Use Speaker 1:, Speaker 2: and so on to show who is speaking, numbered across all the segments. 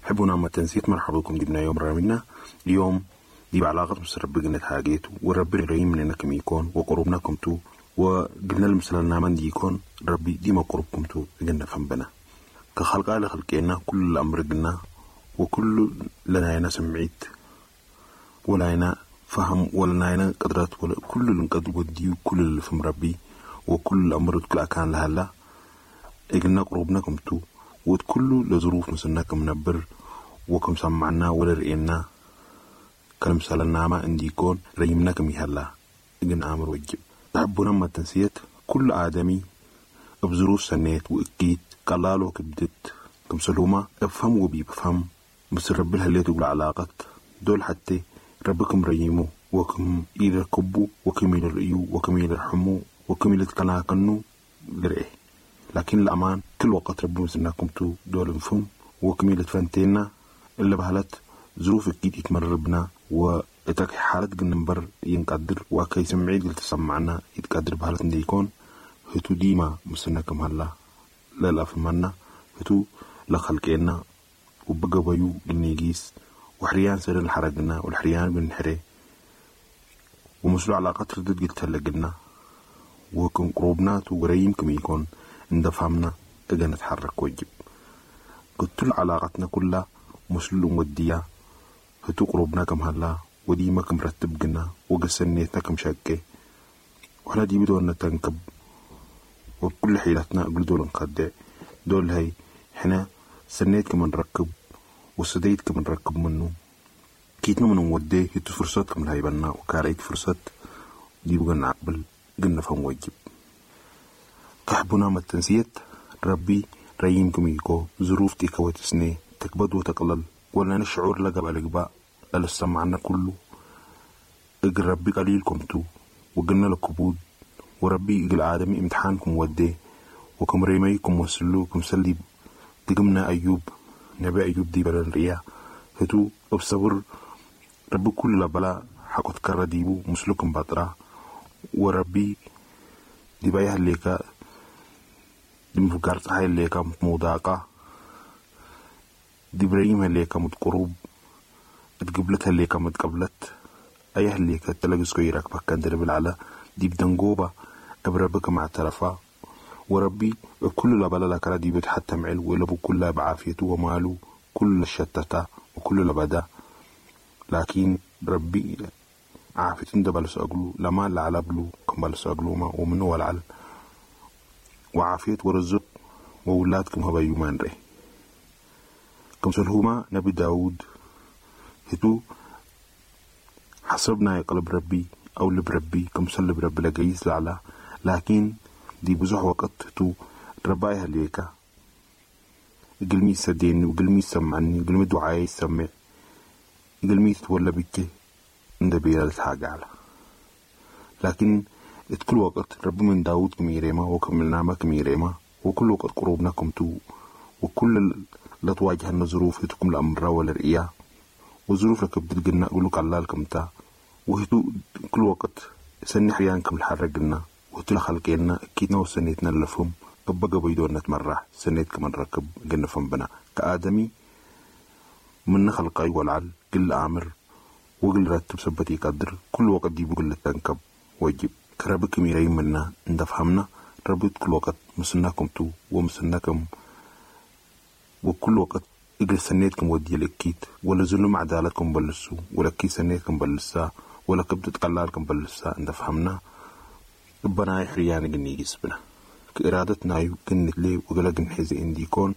Speaker 1: حبونا ما تنسيت، مرحبا بكم ديبنا يوم رامنا اليوم دي بعلاقة مس ربي قلنا حاجيتو وربي ريم لنا كم يكون وقربنا كمتو وقلنا المثل من دي يكون ربي ديما قربكم تو قلنا فنبنا كخلق على خلقنا كل الأمر قلنا وكل لنا سمعيت ولا فهم ولا لنا قدرات ولا كل اللي نقدر ودي وكل اللي فهم ربي وكل الأمر كل كان لهلا قلنا قربنا كمتو وكل لظروف مثلنا كم نبر وكم سمعنا ولا رئينا كلام سالنا ما عندي يكون ريمنا كم يهلا إجن آمر وجب تحبونا ما تنسيت. كل آدمي بظروف سنيت وإكيد قلالو كبدت كم سلومة افهم وبي بفهم بس رب الهليت علاقة دول حتى ربكم ريمو وكم يركبوا وكم يرئيو وكم يرحمو وكم يلتقناكنو لرئيه. لكن الأمان كل وقت ربو مسناكم تو دول نفهم وكم يلتفنتينا اللي بهلت ظروف أكيد يتمربنا وإتاك حالة قنبر ينقدر وكي سمعيد قلت سمعنا يتقدر بهالة دي يكون هتو ديما مسناكم هلا لا لا فمنا هتو لخلقنا وبقى بيو قنيجيس وحريان سر الحرقنا والحريان بنحري ومسلو علاقات ردد قلت هلا وكم قروبنا وقريم كم يكون اندفهمنا اجا نتحرك وجب قلت علاقتنا كلها مسلو وديا هتو قروبنا كم هلا وديما كم رتب قلنا وقسنيتنا كم شاكي وحنا دي بدون تنكب وبكل حيلتنا قل دول نقدع دول هاي حنا سنيت كم نركب وصديت كم نركب منه كيتنا من وديه هتو فرصات كم هاي بنا وكاريت فرصات دي بقى نعقبل قلنا فهم وجب كحبنا ما التنسيت ربي ريمكم يكو ظروف تيكوت سنة تكبد وتقلل ولا نشعر لقب القباء لا سمعنا كله اجر ربي قليلكم تو وقلنا لكبود وربي اجل عالمي امتحانكم وديه وكم ريميكم وسلوكم سلي تقمنا أيوب نبي أيوب دي بلن ريا هتو بصبر ربي كل بلا حقت كرديبو مسلكم بطرة وربي دي بايه الليكا دي مفكرت هاي الليكا مضاقة دي بريم الليكا متقروب اتقبلتها الليكا متقبلت ايه الليكا تلقس كويرك بكان درب العلا دي بدنقوبة ابربك مع التلفا وربي كل لبلا لك دي بتحتم معل ولبو كلها بعافيته وماله كل الشتتا وكل لبدا لكن ربي عافيتن دبلس أقلو لما لعلى بلو كم بلس أقلو ما ومنو والعل وعافيت ورزق وولادكم هبا يومان ري كم سلهما نبي داود هتو حسبنا يقلب ربي أو لب ربي كم سلب ربي لقيس لعلى لكن دي بزح وقت هتو رباي هليكا قلمي سديني وقلمي سمعني قلمي دعاي سمع قلمي تولى بك ندبي الحاجة على لكن كل وقت رب من داود كميريما وكملنا ما كميريما وكل وقت قروبنا كمتو وكل لا تواجهنا ظروف تكم الأمر ولا رئيا وظروف لك بدلنا أقولك على لكمتا وهتو كل وقت سني حيانكم الحرقنا وهتو لخلقنا كيتنا وسنيتنا لفهم كبقى بيدور نتمرح سنيت كمان ركب قلنا فنبنا كآدمي من خلقاي والعل كل أمر وقل رتب سبتي قدر كل وقت دي بقول تنكب وجب كربك ميري منا اندفهمنا ربط كل وقت مسناكم تو ومسناكم وكل وقت اجل سنيتكم ودي لكيت ولا ظلم عدالتكم بلسو ولا كي سنيتكم بلسا ولا كبدت قلالكم بلسا اندفهمنا ربنا يحريان قني جسبنا كإرادتنا يمكن لي وقلق نحزي اندي كون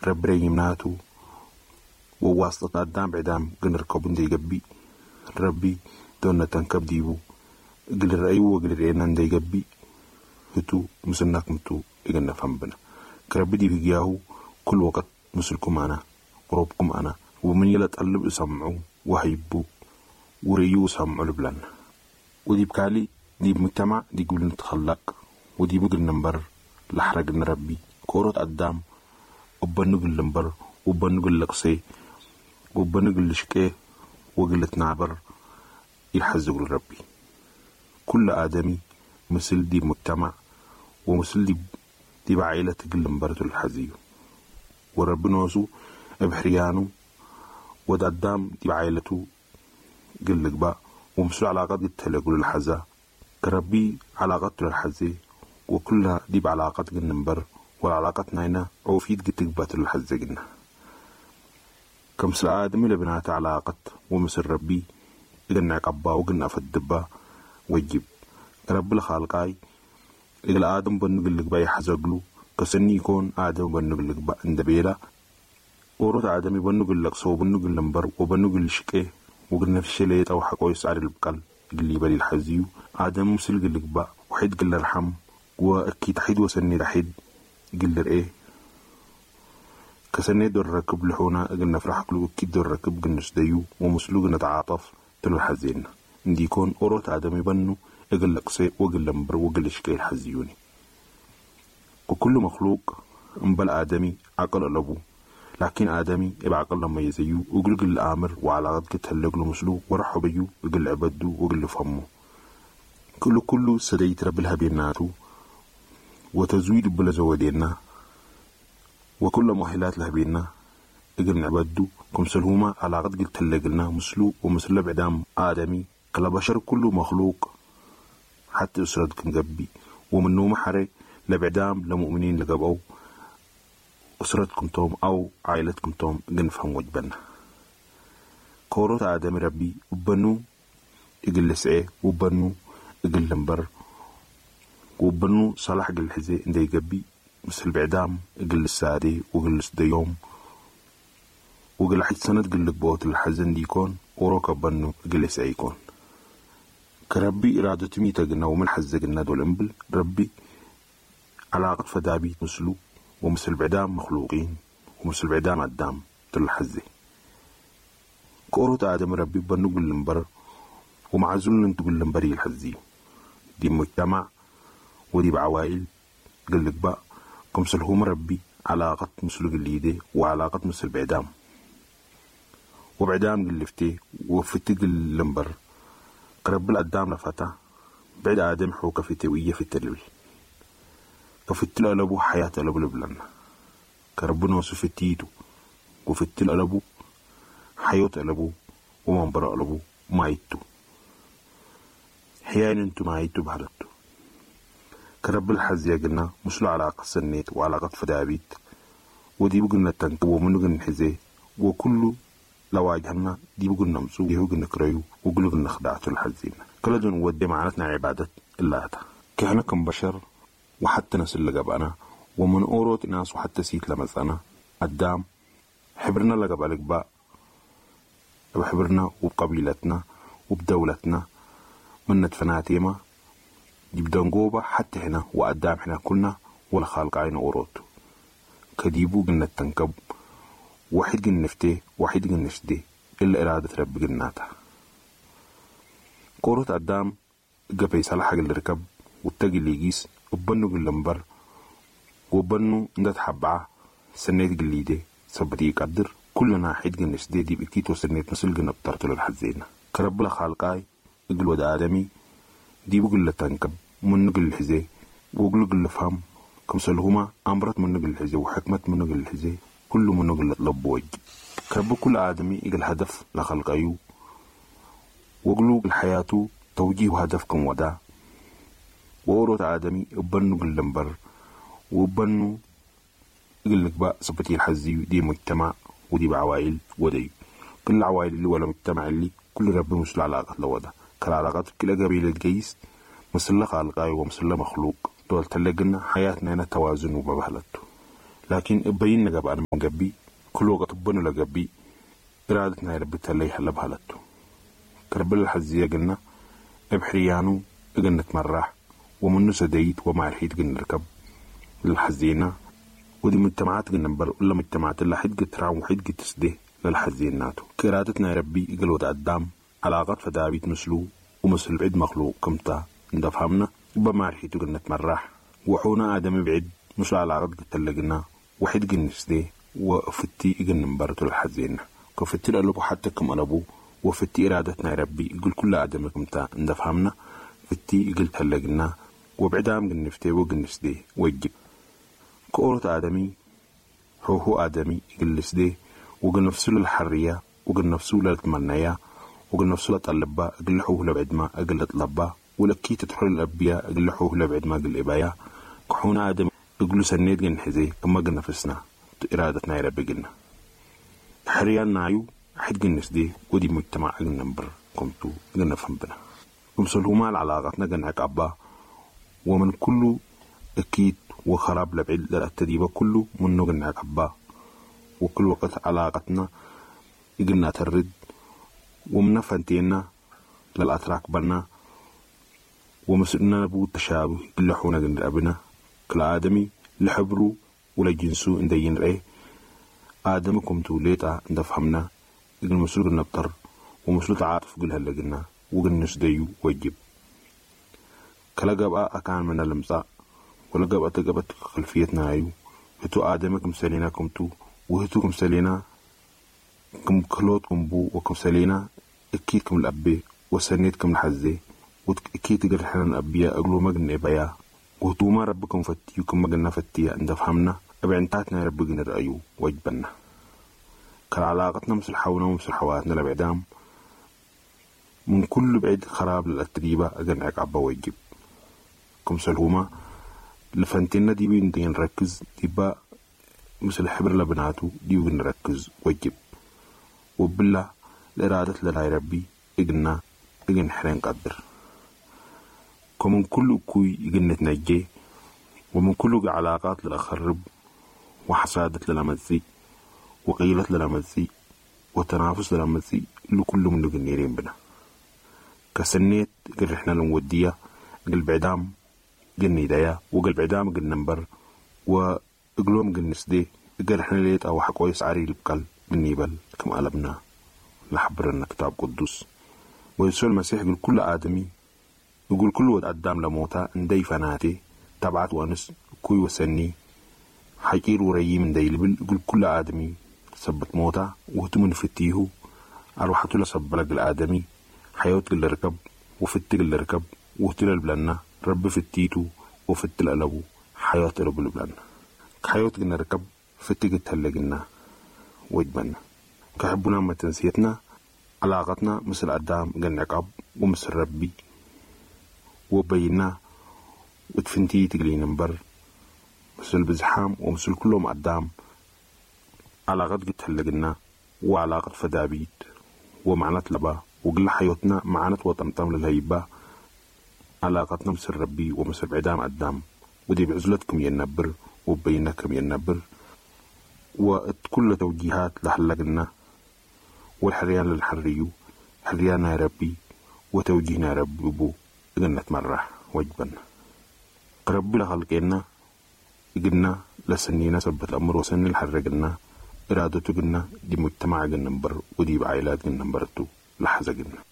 Speaker 1: رب ريمناتو وواسطة قدام بعدام قنركب اندي قبي ربي دونا تنكب ديبو قل الرأي وقل رأينا اندي قبي هتو مسناكم تو إقلنا فهم بنا كربي دي بيجاهو كل وقت مسلكم أنا قروبكم أنا ومن يلا تقلب سمعو وهيبو وريو سمعو لبلان ودي بكالي دي بمجتمع دي قبل نتخلق ودي بقل نمبر لحرق نربي كورة قدام وبنقل نمبر وبنقل لقصي وبنقل لشكي وقلت نعبر يحزق لربي كل آدمي مثل دي مجتمع ومثل دي بعائلة تقل مبارته الحزيو ورب نوسو بحريانو ود أدام دي بعائلته قل با ومسلو علاقات قد الحزة كربي علاقات للحزة وكلها دي بعلاقات قل والعلاقات ناينا عوفيت قد تقبات الحزة قلنا. كمسل آدم لبنات علاقة ومسل ربي قلنا عقبا وقلنا فالدبا وجب رب الخالقاي إذا آدم بنقل لك باي حزقلو كسني يكون آدم بنقل لك با عند بيلا ورد آدمي بنقل لك سو بنقل لمبر وبنقل شكي وقلنا في شليت أو حقو يسعر البقل اللي بلي الحزيو آدم مسل قل لك با وحيد قل رحم وأكيد حيد وسني رحيد قل إيه كسني دور ركب لحونا قلنا فرح كلو أكيد دور ركب قلنا سديو ومسلو قلنا تعاطف تلو الحزين عندي يكون أوروت آدمي بنو أقل لقصي وقل لمبر وقل شكي الحزيوني. وكل مخلوق انبل آدمي عقل لبو لكن آدمي يبقى عقل لما يزيو وقل قل الآمر وعلى غد كتهلق له مسلو ورحب بيو وقل عبدو وقل فمو كله كله سديت رب الهبيناتو وتزويد بلا زودينا وكل مؤهلات لهبينا اقل نعبدو كمسلهما على غد قلت لنا مسلو ومسل بعدام آدمي كلا بشر كله مخلوق حتى أسرتكم قبي ومنو محري لبعدام لمؤمنين لقبو أسرتكم توم أو عائلتكم توم نفهم وجبنا. كوروت آدم ربي وبنو إقل سعي وبنو إقل لمبر وبنو صلاح قل حزي إنده يقبي مثل بعدام إقل السادي وقل سديوم وقل حد سنة قل بوت الحزن ديكون وروك بنو إقل سعي يكون. كربي إرادة ميتا قلنا ومن حزة قلنا دول انبل ربي علاقة فدابي مسلو ومثل بعدام مخلوقين ومثل بعدام أدام تل حزة. كوروت آدم ربي بنو قل لنبر ومعزول تقول لنبري الحزي دي مجتمع ودي بعوائل قل لك بقى كمسلهم ربي علاقة مسلو قليدي وعلاقة مثل بعدام وبعدام قلفتي وفتي قل لنبر قرب الأدام لفتا بعد آدم حو كفتي ويا في التلوي كفت الألبو حياة ألبو لبلنا كربنا وصفتيتو وفت الألبو حياة ألبو ومنبر ألبو مايتو حيان انتو مايتو بهلتو كرب الحز يقلنا مسلو علاقة سنيت وعلاقة فدابيت ودي بقلنا التنكب ومنو قلنا حزي وكله لواجهنا دي بقولنا مسو دي بقولنا كريو وقلنا قلنا خدعته الحزين كل دون ودي معناتنا عبادة الله كهنا كم بشر وحتى ناس اللي قبلنا ومن أوروت ناس وحتى سيت لمزنا قدام حبرنا اللي قبلك بقى بحبرنا وبقبيلتنا وبدولتنا من ندفناتيما يبدأ نجوبة حتى هنا وقدام حنا كلنا ولا خالق عين أوروت كديبو قلنا التنكب واحد جنفتي واحد جنشدي إلا إرادة رب جناتها. كورة قدام جبي صلاح اللي ركب والتاج اللي يجيس وبنو جلنبر وبنو اندت حبعة سنيت جليدي سبتي يقدر كلنا حيد جنشدي دي بكيتو سنيت مسل جنبترتو للحزينة كرب لخالقاي اجل ود آدمي دي بقول لتنكب من نقل الحزي وقل قل فهم كمسلهما أمرت من نقل الحزي وحكمت من نقل الحزي كل من نقل لب وجه كرب كل آدمي إجل هدف لخلق أيو وقلو الحياة توجيه هدف كم ودا وورث آدمي وبنو قل وبنو يقول لك بقى صفتي الحزي دي مجتمع ودي بعوائل ودي كل العوائل اللي ولا مجتمع اللي كل رب مسل علاقة لودا كل علاقات كل قبيلة جيس مسلة خالقاي ومسلة مخلوق دول تلقنا حياتنا هنا توازن وببهلته. لكن بينا قبل من قبي كل وقت بنو لقبي إرادتنا يا رب تلي هلا بهلته. كرب الحزية قلنا ابحريانو قلنا تمرح ومنو سديت ومع الحيط قلنا نركب للحزينة ودي مجتمعات قلنا نبر ولا مجتمعات اللي حد قد ترعم وحد قد تسده للحزيناتو. كإرادتنا يا ربي قل قدام علاقات فدابيت مسلو ومسل بعد مخلوق كمتا ندفهمنا بما الحيط قلنا تمرح وحونا آدم بعد مش علاقات قد تلقنا وحد قلنا نسده وفتي قلنا نبرتو للحزينة كفتي الألبو حتى كم ألبو وفتي إرادتنا يا ربي يقول كل آدم كمتا ندفهمنا فتي يقول تلقنا وبعدام قلنا نفتي وقلنا نسده وجب كورة آدمي هو آدمي يقول لسده وقل نفسه للحرية، وقل نفسه للتمنية، وقل نفسه لتقلبا أقل حوه لبعد ما أقل أطلبا، ولكي تدخل الأبية أقل حوه لبعد ما أقل إبايا. كحونا آدم أقلو سنيت جن حزي كما قلنا فسنا إرادتنا يا ربي قلنا حريان نايو حد جنس دي ودي مجتمع قلنا نبر كنتو قلنا فهم بنا ومسلهما العلاقتنا قلنا عقبا، ومن كله أكيد وخراب لبعد للتديبة كله منه قلنا عقبا. وكل وقت علاقتنا قلنا ترد ومن فانتينا للأتراك بنا ومسؤولنا نبو تشابه كل حونا قلنا أبنا كل آدمي لحبرو ولا جنسو اندين رأي آدمكم توليتا عند فهمنا إذن مسؤول نبتر ومسؤول تعاطف قلها لقلنا وقلنا نسديو وجب كلا قبأ أكان من المساء ولا قبأ تقبت خلفيتنا أيو هتو آدمكم سلينا كمتو وهتوكم سلينا كم كلوتكم بو وكم سلينا أكيدكم الأبي وسنيتكم الحزي وأكيد تقرحنا الأبياء أقلو مجن بيا وهتو ما ربكم فتيكم مجن فتيا عند فهمنا أبعنتاتنا ربنا رأيو وجبنا كالعلاقتنا مثل حونا ومثل حواتنا لبعدام من كل بعيد خراب للتريبة أجن عبا ويجب كم سلهما لفنتنا دي بين دي نركز ديبا مثل حبر لبناتو دي نركز ويجب وبالله الإرادة للا ربي إجنا إجن حرين قدر كمن كل كوي إجن نتنجي ومن كل علاقات للأخرب وحسادة للمزي وقيلة للمزي وتنافس للمزي لكل من النيرين بنا كسنيت قل إحنا لنودية قل بعدام قل نيدايا وقل بعدام قل نمبر وقلوم قل نسدي قل إحنا ليت أو حكويس عري البقل من نيبل كم قلبنا لحبرنا كتاب قدوس. ويسوع المسيح يقول كل آدمي يقول كل ود قدام لموتا اندي فناتي تبعت وانس كوي وسني حكير وريي من ديلبل يقول كل آدمي سبت موتا وهتو من فتيه أروحتو لسبلق الآدمي حيوت اللي ركب وفت اللي ركب وهتو للبلنا رب فتيتو وفت القلبو حياة رب البلنا حيوت قلنا ركب فتي تهلقنا وجبنا كحبنا ما تنسيتنا علاقتنا مثل قدام قلنا عقاب ومثل ربي وبينا وتفنتي تقلي نمبر مثل بزحام ومثل كلهم قدام علاقات قد تهلقنا وعلاقة فدابيت ومعنات لبا وقل حيوتنا معنات وطمطم للهيبة علاقتنا مثل ربي ومثل بعدام قدام ودي بعزلتكم ينبر وبينكم ينبر وكل توجيهات لحلقنا والحريان للحريو حريانا يا ربي وتوجيهنا يا ربي بو إذن نتمرح وجبنا ربي لخلقنا إجنا لسنينا سبت الأمر وسن الحرقنا إرادته قلنا دي مجتمع قلنا نبر ودي بعائلات قلنا نبرتو لحظة قلنا.